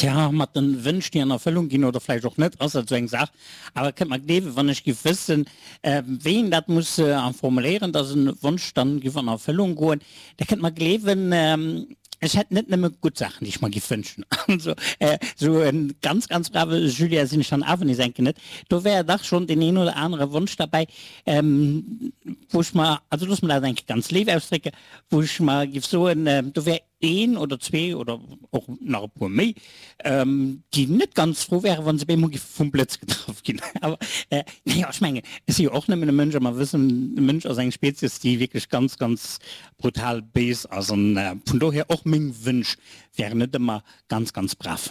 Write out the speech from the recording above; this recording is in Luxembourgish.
Tja, mat den Wënsch déi an Erfëllung ginn oder vläicht och net, ass dat esou eng Saach. Awer kënnt mer gleewen, wann ech giff wëssen, wéi een dat muss formuléieren, dass en Wonsch dann giff an Erfëllung goen, da kënnt mer gleewen, ech hätt net nëmme gutt Saachen, déi ech mer giff wënschen. Also esou en ganz, ganz brave Julien sinn ech dann awer nees enke net. Do wär dach schonn deen een oder anere Wonsch derbäi, wou ech mer, also looss mer dat eng Kéier ganz léif ausdrécken, wou ech mer giff soen, do wär een oder zwee oder och nach e puer méi, déi net ganz frou wären, wa se op eemol géife vum Blëtz getraff ginn. Awer naja, ech mengen, ech si jo och nëmmen e Mënsch a mer wëssen, de Mënsch ass eng Spezies, déi wierklech ganz, ganz brutal béis ass. An vun dohier och meng Wënsch wären net ëmmer ganz, ganz brav.